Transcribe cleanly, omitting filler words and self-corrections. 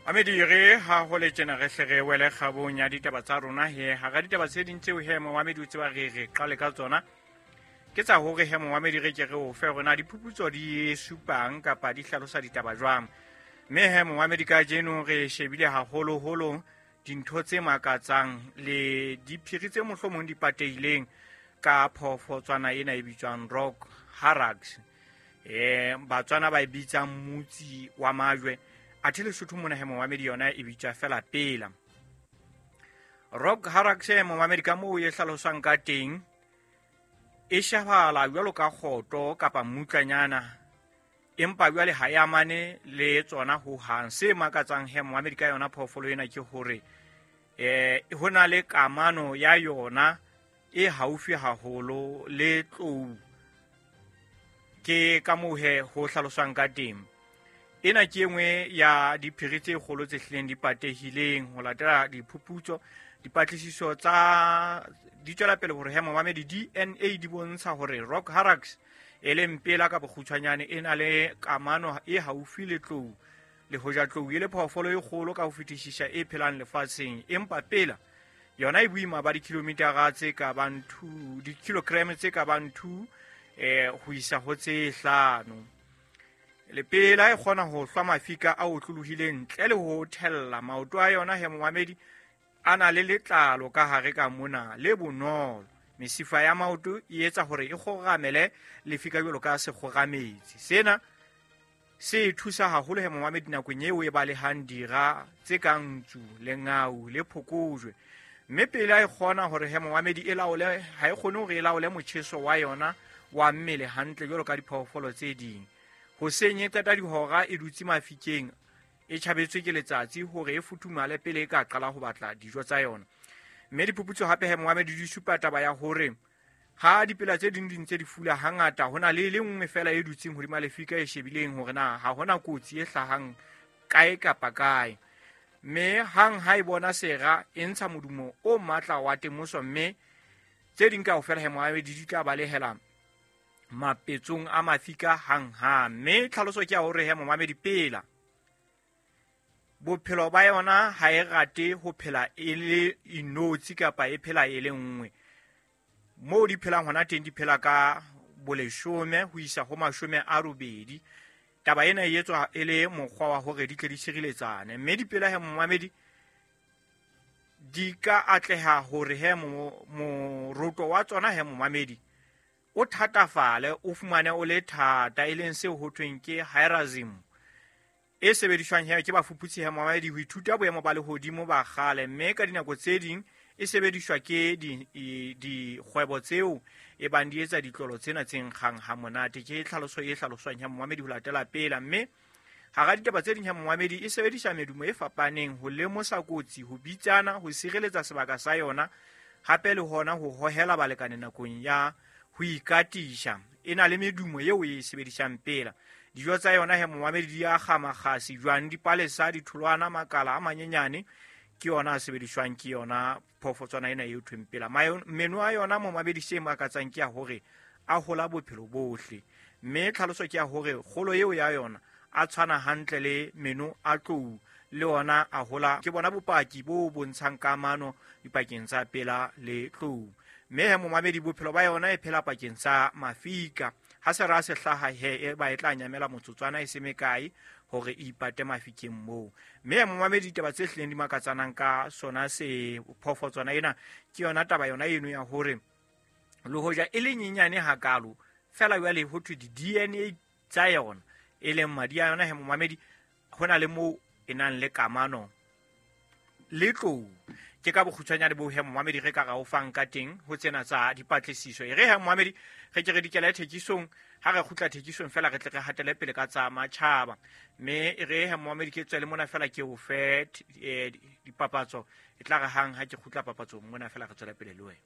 Mamedi re ha ho le tjena re hle re wele kgabong ya ditaba tsa rona he hara ditaba tse ding tseo he momamedi o tseba re re qale ka tsona ke tsa hore he momamedi re ke re o fe rona diphuputso di supang kapa di hlalosa ditaba jwang. Mme he momamedi ka jeno re shebile haholoholo dintho tse makatsang le diphiri tse mohlomong di patehileng ka phoofotswana ena e bitswang rock harax. Batswana ba e bitsang motsi wa majwe, athe Lesotho mona he momamedi yona e bitswa fela pela. Rock harax momamedi ka moo e hlaloswang ka teng e shebahala jwalo ka kgoto kapa mmutlanyana, empa jwale ha e amane le tsona ho hang. Se makatsang he momamedi ka yona phoofolo ena ke hore ho na le kamano ya yona e haufi haholo le tlou. Ke ka moo he ho hlaloswang ka teng. Ena ke e nngwe ya diphiri tse kgolo tse hlileng di patehileng ho latela diphuputso. Dipatlisiso tsa di tswela pele hore he momamedi DNA di bontsha hore rock harax e leng pela ka bokgutshwanyane e na le kamano e haufi le tlou, le hoja tlou e le phoofolo e kgolo ka ho fetisisa e phelang lefatsheng, empa pela yona e boima ba dikilometara tse ka bang 2, dikilogram tse ka bang 2 ho isa ho tse 5. Lepela e kgona ho hlwa mafika a otlolohileng ntle le ho thella. Maoto a yona he momamedi a na le letlalo ka hare ka mona le bonolo. Mesifa ya maoto e etsa hore e kgoramele lefika jwalo ka sekgorametsi. Sena se thusa haholo he momamedi nakong eo e balehang dira tse kang ntsu, lengau le phokojwe. Mme pele a e kgona hore he momamedi e laole, ha e kgone hore e laole motjheso wa yona wa mmele hantle jwalo ka diphoofolo tse ding. Hoseng e qeta dihora e dutse mafikeng, e tjhabetswe ke letsatsi hore e futhumale pele e ka qala ho batla dijo tsa yona. Mme diphuputso hape he momamedi di supa taba ya hore ha dipela tse ding di ntse di fula hangata, ho na le e le nngwe fela e dutseng hodima lefika e shebileng hore na ha hona kotsi e hlahang kae kapa kae. Mme hang ha e bona sera, e ntsha modumo o matla wa temoso, mme tse ding kaofela he momamedi di tla balehela mapetsong a mafika hang-hang. Mme tlhaloso ke ya hore he momamedi pela bophelo ba yona ha e rate ho phela e le inotshi kapa e phela e le nngwe. Moo di phelang hona teng di phela ka boleshome ho isa ho 80. Taba ena e etswa e le mokgwa wa hore di tle di tshireletsane. Mme dipela he momamedi di ka atleha hore he moroto wa tsona he momamedi o thatafale, o fumane o le thata, e leng seo ho thweng ke hierasm e sebediswang he ke bafuputsi he momamedi ho ithuta boemo ba lehodimo ba kgale. Mme ka dinako tse ding e sebediswa ke dikgwebo tseo e bang di etsa ditlolo tsena tse nkgang ha monate. Ke tlhaloso e hlaloswang he momamedi ho latela pela. Mme hara ditaba tse ding he momamedi e sebedisa medumo e fapaneng ho lemosa kotsi, ho bitsana, ho sireletsa sebaka sa yona, hape le hona ho hohela balekane nakong ya ho ikatisha. E na le medumo eo e sebedisang pela. Dijo tsa yona he momamedi di akga makgasi, jwang, dipalesa, ditholwana, makala a manyenyane ke yona a sebediswang ke yona phoofotswana ena e thweng pela. Meno a yona momamedi se makatsang ke ya hore a hola bophelo bohle. Mme tlhaloso ke ya hore kgolo eo ya yona a tshwana hantle le meno a tlou, le ona a hola. Ke bona bopaki bo bontshang kamano dipakeng tsa pela le tlou. Mme he momamedi bophelo ba yona e phela pakeng tsa mafika. Ha se ra se hlaha he e ba e tla nyamela motsotswana e se mekae hore e ipate mafikeng moo. Mme he momamedi ditaba tse hlileng di makatsanang ka sona se phoofotswana ena ke yona taba yona eno ya hore le hoja e le nyenyane hakalo, fela jwale ho thwe di-DNA tsa yona e leng madi a yona he momamedi ho na le moo e nang le kamano le tlou. Ke ka bokgutshwanyane bo he momamedi re ka ra o fang ka teng ho tsena tsa dipatlisiso. E re he momamedi re ke re dikele thekisong, ha re kgutla thekisong fela re tle re hatele pele ka tsa matjhaba. Mme e re he momamedi ke tswele mona fela ke o fe dipapatso, e tla re hang ha ke kgutla papatsong mona fela re tswele pele le wena.